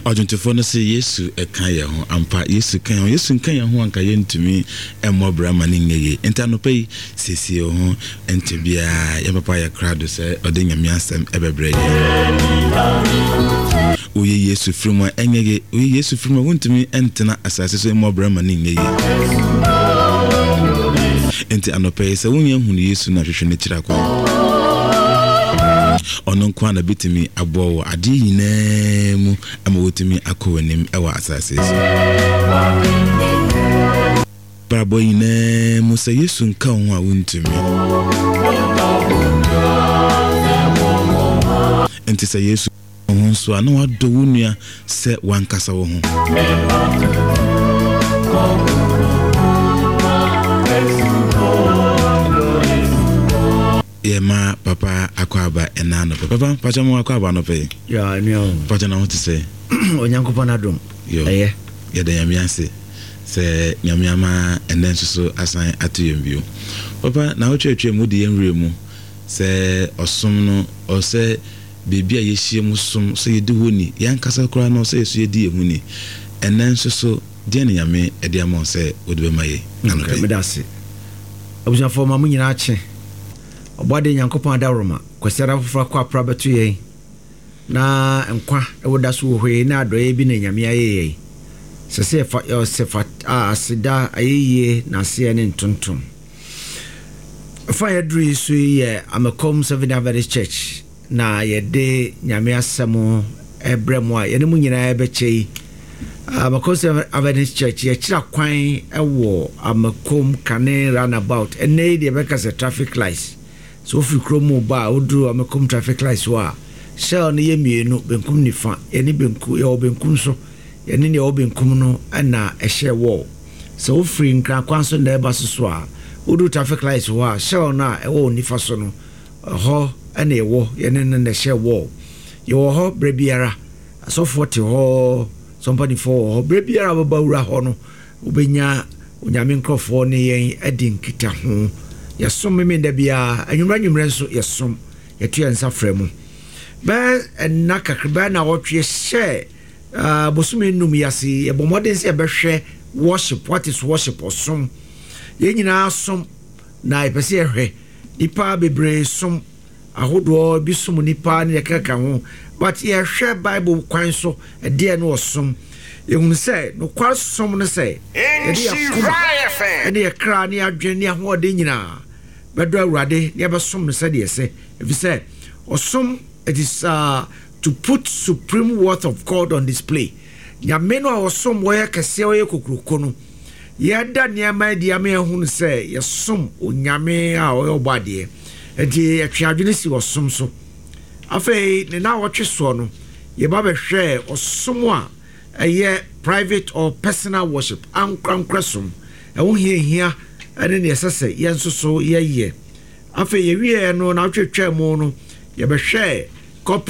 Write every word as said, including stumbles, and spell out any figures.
Ɔdwontofoɔ no sɛ Yesu ɛka yɛn ho ampa. Yesu ka yɛn ho. Yesu nka yɛn ho anka yɛntumi ɛmmɔ bra ma ne nyɛ yie. Nti anɔpa yi, siesie wo ho. Nkyɛ biara yɛn papa yɛ krado sɛ ɔde Nyame asɛm ɛbɛbrɛ yɛn. Woyɛ Yesu firi mu a, ɛnyɛ ye. Woyɛ Yesu firi mu a, wontumi ntena asase so mmɔ bra ma ne nyɛ yie. Nti anɔpa yi, sɛ wonyɛ hunu Yesu no, ahwehwɛ no kyerɛ kwan. Ɔno nko a na bɛtumi aboa wɔ adeɛ nyinaa mu ama wɔtumi akɔ w'anim ɛwɔ asase so. Brabɔ nyinaa mu, sɛ Yesu nka wo ho a, wontumi. Nti sɛ Yesu ho nso a, na wadɔ wo nua sɛ wankasa wo ho. Yɛma papa akɔ aba ɛna anɔpɛ. Papa, pakyɛ mo akɔ aba anɔpɛ yi. Pakyɛ, na ho te sɛ? Onyankopɔn adom. Ɛyɛ. Yɛda Nyame ase sɛ Nyame ama ɛnɛ nso so asan ato yɛn bio. Papa, na wotwerɛtwerɛ mu wode yɛn werɛ mu sɛ ɔsom no, ɔsɛ biribi a yɛhyia mu som sɛ yɛdi hɔ ni, yɛankasa koraa no sɛ yɛso yɛdi yɛn ho ni. Ɛnɛ nso so, deɛ ne Nyame ɛde ama wo sɛ wode bɛma yɛ anɔpɛ yi? Meda ase. Abusuafoɔ, ma mo nyinaa kye. Ɔbɔade Nyankopɔn adaworoma, Kwasiada foforɔ akɔ apra bɛto yɛn na nkwa ɛwɔ da so wɔ hɔ yi na adɔeɛ bi na Nyame ayɛ yɛn. Sɛ sɛ yɛfa sɛ fa aseda, ayɛyie na aseɛ ne ntontom. Fa yɛduru yi so yi yɛ Amakom Seventh Adventist Church na yɛde Nyame asɛm ɛbrɛ mu a yɛne mu nyinaa bɛkyɛ yi. Amakom Seventh Adventist Church, yɛkyerɛ kwan ɛwɔ Amakom Kane roundabout. Ɛnɛ yi deɛ, yɛbɛka sɛ traffic lights. So wofiri kurom mu ba a, woduru Amakom traffic lights hɔ a, Shell no yɛ mmienu, benkum, nifa. Yɛne benkum, yɛwɔ benkum so. Yɛne nea ɛwɔ benkum no ɛna ɛhyɛ wall. Sɛ wofiri Nkrankwan so na ɛba so so a, woduru traffic lights hɔ a, Shell no a ɛwɔ wo nifa so no, ɛhɔ ɛna ɛwɔ. Yɛne no na ɛhyɛ wall. Yɛwɔ hɔ berɛ biara. Asɔfoɔ te hɔ, sɔmpanifoɔ wɔ hɔ berɛ biara. Wobɛba wura hɔ no, wobɛnya Onyame nkurɔfoɔ ne yɛn adi nkita ho. Yɛsom Memenda biara anwummerɛ. Anwummerɛ nso yɛsom. Yɛto yɛn nsa frɛ mu. Bɛɛ ɛnna kakra bɛɛ na wɔtwe hyɛ uh, bosome nnum yi ase, yɛbɔ mmɔden sɛ yɛbɛhwɛ worship. What is worship? Ɔsom. Yɛn nyinaa som na yɛpɛ sɛ yɛhwɛ nipa bebree som ahodoɔ bi, som nipa ne yɛkeka ho, but yɛhwɛ Bible kwan so ɛdeɛ no ɔsom. Yɛhunu sɛ nokware som no sɛ yɛde yɛakoma ɛne yɛkra ne yɛadwene ne ahoɔden nyinaa bɛdɔ Awurade ne yɛbɛsom no sɛdeɛ ɛsɛ, ɛfiri sɛ ɔsom, it is uh, to put supreme worth of God on display. Nyame no a ɔsom wɔyɛ kɛseɛ, wɔyɛ kokuroko no, yɛda nneɛma adi ama yɛhunu sɛ yɛsom Onyame a ɔyɛ ɔbɔ adeɛ. Nti yɛtwe adwene si ɔsom so. Afei ne na wɔtwe soɔ no, yɛba bɛhwɛ ɔsom a ɛyɛ private or personal worship, ankorankora som, ɛho hiahia ɛne neɛ ɛsɛ sɛ yɛn nso so yɛyɛ. Afei yɛwieɛ no, na wotwetwaa mu no, yɛbɛhwɛ corporate